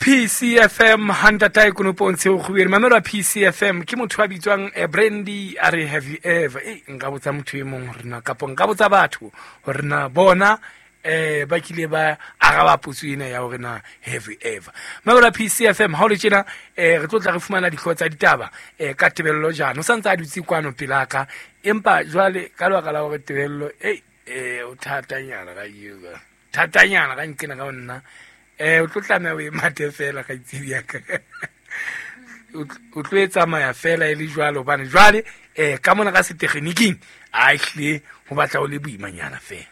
PCFM hantatae konopong tsheo kgubere mamelo a PCFM ke motho a bitswang eh, Brandy a re have you ever e nka botsa motho e mong hore na kapo nka botsa batho hore na bona eh ba kile ba araba potso ena ya hore na have you ever. Mamelo a PCFM ha o le tjena eh re tlo tla re fumana dihlooho tsa ditaba eh ka tebello jana o santse a dutse kwano pelaka empa jwale ka lebaka la hore tebello eh eh o thatanyana ka eo thatanyana ka nkena ka nna eh o tlo tlameha o e mathe fela ga itsebi yaka o tlo e tsamaya fela e le jwalo hobane jwale um ka mona ka setegeniking a ehlile go batla o le boimanyana fela.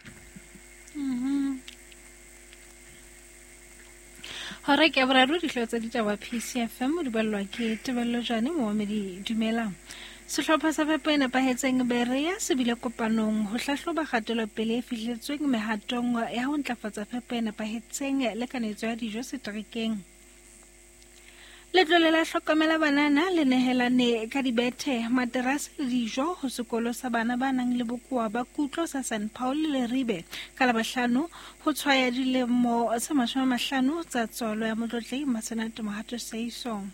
Hora ke boraro dihlooho tsa ditaba PCFM di balelwa ke Tebello Jane momamedi dumelang. Sehlopha sa fepo e nepahetseng Berea se bile kopanong ho hlahloba kgatelopele e fihletsweng mehatong ya ho ntlafatsa fepo e nepahetseng le kanetso ya dijo seterekeng. Letlole la hlokomela banana le nehelane ka dibethe, materase le dijo ho sekolo sa bana ba nang le bokowa ba kutlo sa St Paul le Leribe ka Labohlano ho tshwaya dilemo tse 50 tsa tswalo ya Motlotlehi Masenate Mohato Seiso.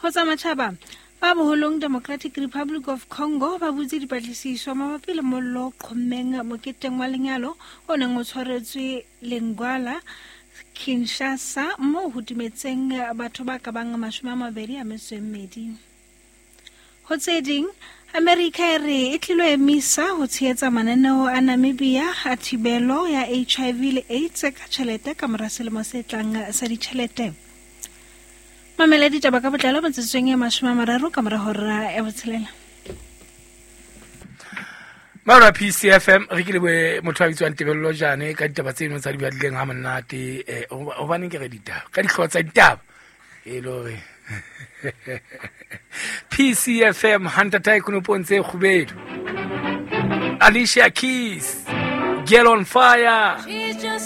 Ho tsa matjhaba, ba boholong Democratic Republic of Congo ba butse dipatlisiso mabapi le mollo o qhommeng moketeng wa lenyalo o neng o tshwaretswe Lingwala, Kinshasa, moo ho timetseng batho ba ka bang 24. Ho tse ding, Amerika e re e tlilo emisa ho tshehetsa mananeo a Namibia a thibelo ya HIV le AIDS ka tjhelete ka mora selemo se tlang sa ditjhelete. Mamela ditaba ka botlalo metsotsong e 30 ka mora hora ya botshelela. Maura PCFM re ke leboe motho a bitswang Tebello Jane ka ditaba tseno tsa di badileng ha monate eh hobaneng ke re ditaba ka dihlooho tsa ditaba e le hore PCFM hantatae konopong tse kgubedu. Alicia Keys, Girl on Fire.